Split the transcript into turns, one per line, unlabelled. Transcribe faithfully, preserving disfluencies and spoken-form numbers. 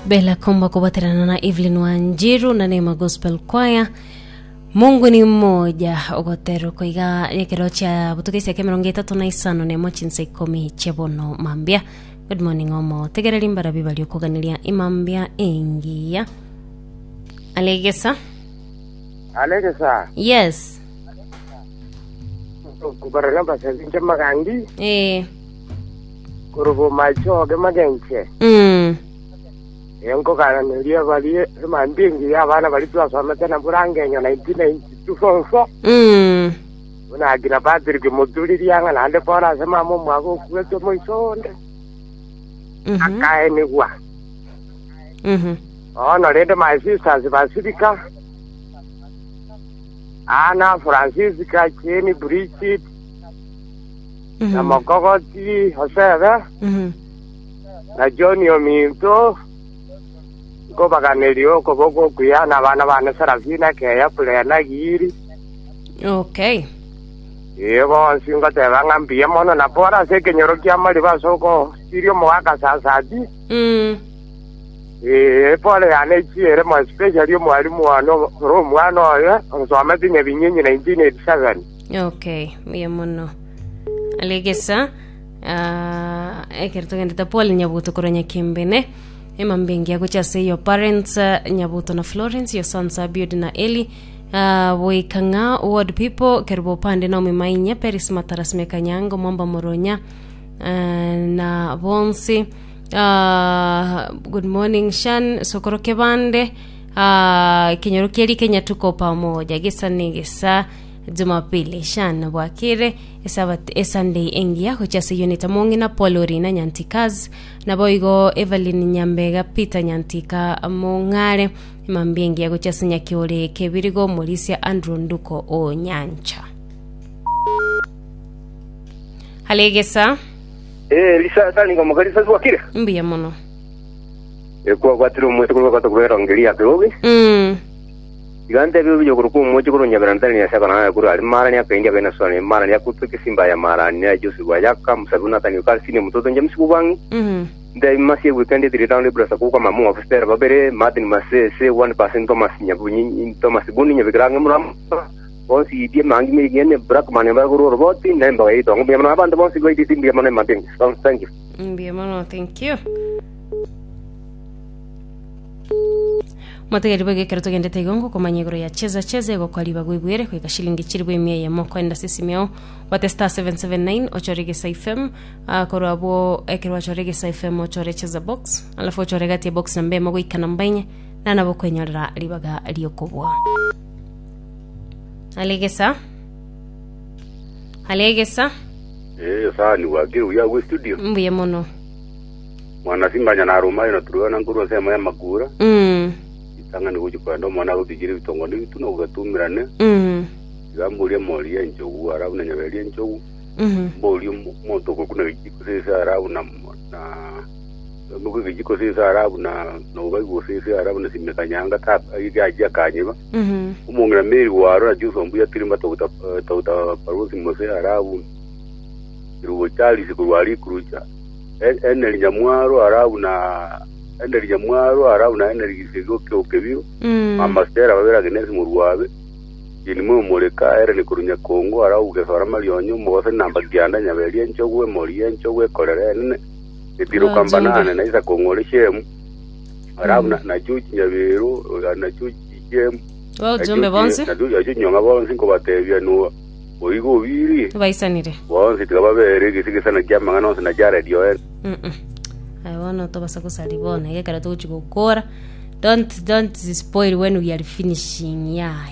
Bella Komba kubaterana na Evelyn Wanjiru na Neema Gospel Choir. Mungu ni mmoja ogotero koiga ekero chia butukesia kia mirongo etato na isano nemo chinsa ikomi chiabono mambia. Good morning, omo tegereri mbarabi bari okuganiria imambia engiya alegesa.
Alegesa.
Yes.
Kubarana basazinche magangi.
Eh.
Kurubo machoge magenche.
Mm.
Enkoganeria bari emambingi abana bari twasomete na burangenyo nineteen ninety-two form four.
Mm.
Unagira Patrick muturiria ng'a naende bono ase mama omwaka okuete moisonde.
Mhm.
Akaenigwa.
Mhm.
Ono rende my sisters Basilica Ana Francisca Jane Bridget na
Mhm.
Mokogoti Josebe
Mhm.
na John Ominto nkobaganeria okoboko okuya na abana bane Serafina Keya Plena Giri.
Okay.
Ee, bonsi ngoteba ng'a mbuya mono na bora ase ekenyoro kia Mariba ase okosiria omogaka Sasati.
Mm.
Ee, pole yane chiere mo especially omwalimu one ore omwana oyo onsomete Nyabinyinyi nineteen eighty-seven.
Okay, mbuya mono alegesa. uh, ekero togendete Paul Nyabuto korwa Nyakimbene, emambia gocha ase your parents, uh, Nyabuto na Florence, your sons Abiud na Eli, uh, Boikang'a ward people, Kerubo Pande, Naomi Mainya, Peris Mataras, Mekanyango Mwamba Moronya, uh, na bonsi. uh, good morning Shan Sokoro Kebande, uh, kenyoro kieri Kenya, tuko pamoja gisa ni gisa Jumapili. Shan bwakire esabat esunday engiya gocha ase unit mong'ina Paul Orina Nyantikaz naboigo Evelyn Nyambega, Peter Nyantika Mong'are. Emambia engiya gocha ase Nyakiore Kebirigo, Morisia Andrew Nduko o Nyancha halegesa.
Eh, lisa sani ngoma kalisa wakire.
Mbuya mono.
Ekwa gwatira omwete kurwa kwata kuberongeria kirobi.
mm.
Igante byo byo kuruku omwoche kuru nyabera ntani ya saka na kuru ali mara ni akaingia kaina swani mara ni akutu kisimba ya mara ni ya Joseph Wayaka musabuna tani kalsini mtoto nje msiku
mm
Ndai masi weekend tiri town libra sakuka mamu officer babere Martin Masese one percent Thomas Nyabunyi Thomas Buni nyabikranga muram bonsi idie mangi mi gene brak mane ba guru roboti nemba gaito ngumya mana abantu bonsi go idi timbi mana Martin. Thank you.
Mbuya mono, thank you. Motegeri bwege ekero togendete igongo komanya igoro ya Cheza Cheza egokwa gwibwere kwika shilingi chiri bwe emia eyemo kwenda sisimio wate star seven seven nine ochore Gesa F M. uh, korwa abwo ekero wachore Gesa F M ochore Cheza Box, alafu ochore gati ya box namba emo goika namba inye na nabo kwenyorera ribaga riokobwa alegesa alegesa.
Eh, sani wakiri uya we studio.
Mbuya mono.
Mwana simbanya na rumayo na turuana nkuru sema ya makura.
mm.
Itanga ni kuji kwenda mwana gutijiri bitongo ni bituno gatumirane.
Mm.
Gamburia mori enjogu arabu na nyaberi enjogu.
Mm.
Mbori moto kuna gijiko sesa arabu na na muko gijiko sesa arabu na no baigo sesa arabu na simekanyanga ta igaja kanyiba.
Mm.
Umungira meri waro na juso mbuya tirimba tauta tauta parusi mose arabu irubo Charles kurwari kurucha eneri nyamwaro arabu na eneri nyamwaro arabu na eneri gisego kyo kebiro.
Mm.
Mama Stella babera Agnes murwabe ini mwe mureka ere ni kurunya Kongo arabu gesora marionyo mose namba kianda nyaberi enchogwe mori enchogwe korere nene etiro.
Wajumbe.
Kambanane na isa kongore shemu arabu na na chuchi nyabero na chuchi shemu.
Wajumbe bonsi.
Nacho nyonga bonsi nkobatebia nuo oigo obiri.
Baisanire.
Bonsi tikababere gisigisana kia mang'ana onsi na jaredio en.
Mm-mm. Aye bono tobasa kosari bono egekero togochi gokora. don't don't spoil when we are finishing, yeah.